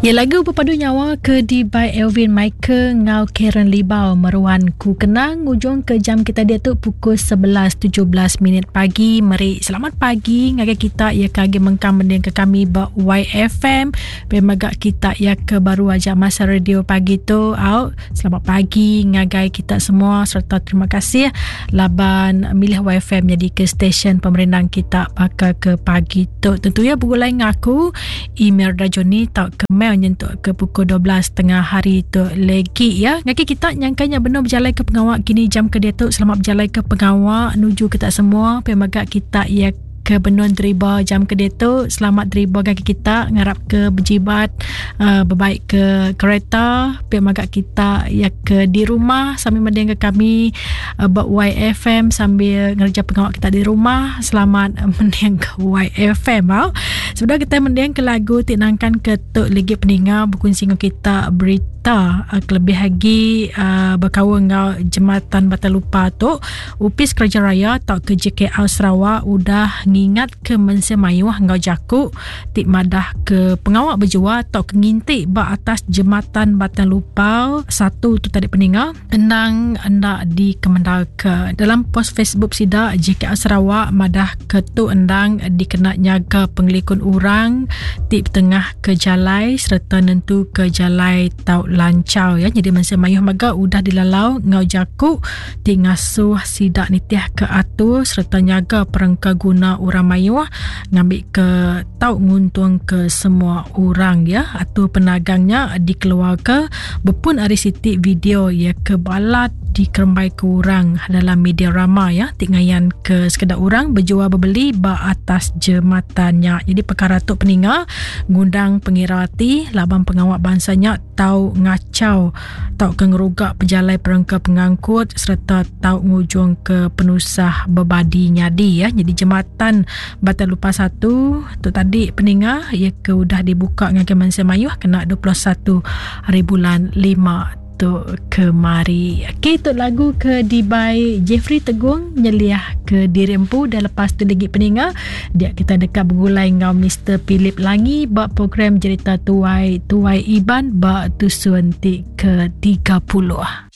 Ya lagu pepadu nyawa ke di by Elvin Michael ngau Karen Libau meruan ku kenang ngujung ke jam kita diatu pukul 11.17 minit pagi meri selamat pagi ngagai kita ya ke agi mengkang mending ke kami ba YFM pe mega kita ya ke baru aja masa radio pagi tu au selamat pagi ngagai kita semua serta terima kasih laban milih YFM jadi ke stesen pemerindang kita baka ke pagi tu tentu ya begulai ngaku Email Rajoni tau ke mail nyentuk ke pukul 12 tengah hari tu legi ya. Ngaki kita nyangkanya benar berjalai ke pengawa kini jam ke diatu selamat berjalai ke pengawa nuju kita semua pemaga kita ya ke benun deriba jam ke diatu selamat deriba gagi kita ngarap ke berjibat uh, berbaik ke kereta pemaga kita ya ke di rumah sambil mending ke kami uh, ba YFM sambil ngerja pengawa kita di rumah selamat mending ke YFM au. Sebedau kita mending ke lagu ti nangkan ke tu lagi peninga berkongsi dengan kita berita uh, kelebih lagi uh, berkaul enggau jematan Batang Lupa tu Opis Kerja Raya tau ke JKR Sarawak udah ngingat ke mensia mayuh enggau jaku ti madah ke pengawa berjual tau ke nginti ba atas jematan Batang Lupa satu tu tadi peninga Endang enda dikemendarka. Dalam pos Facebook sida, JKR Sarawak madah ke tu endang dikena nyaga pengelikun orang ti betengah ke jalai sereta nentuka jalai tau lanchar ya. Nyadi mensia mayuh mega udah dilalau enggau jaku ti ngasuh sida nitihka atur sereta nyaga perengka guna orang mayuh ngambika tau nguntungka semua orang ya. Atur penagang nya dikeluarka bepun ari siti video iya ke balat dikerembaika orang dalam media rama ya ti ngayanka sekeda orang bejual bebeli ba atas jematan nya. Jadi perkara tu peninga ngundang pengira ati laban pengawa bansa nya tau ngachau tauka ngeruga pejalai perengka pengangkut sereta tau ngujungka penusah bebadi nyadi ya. Jadi jematan Batang Lupa 1 tu tadi peninga iya ke udah dibuka ngagai mensia mayuh kena 21 hari bulan 5 tu kemari. Okey tu lagu ke dibai Jeffrey Tegung nyeliah ke diri empu dan lepas tu lagi peninga dia kita deka begulai enggau Mr Philip Langi ba program Jerita Tuai Tuai Iban ba tusun ti ke 30.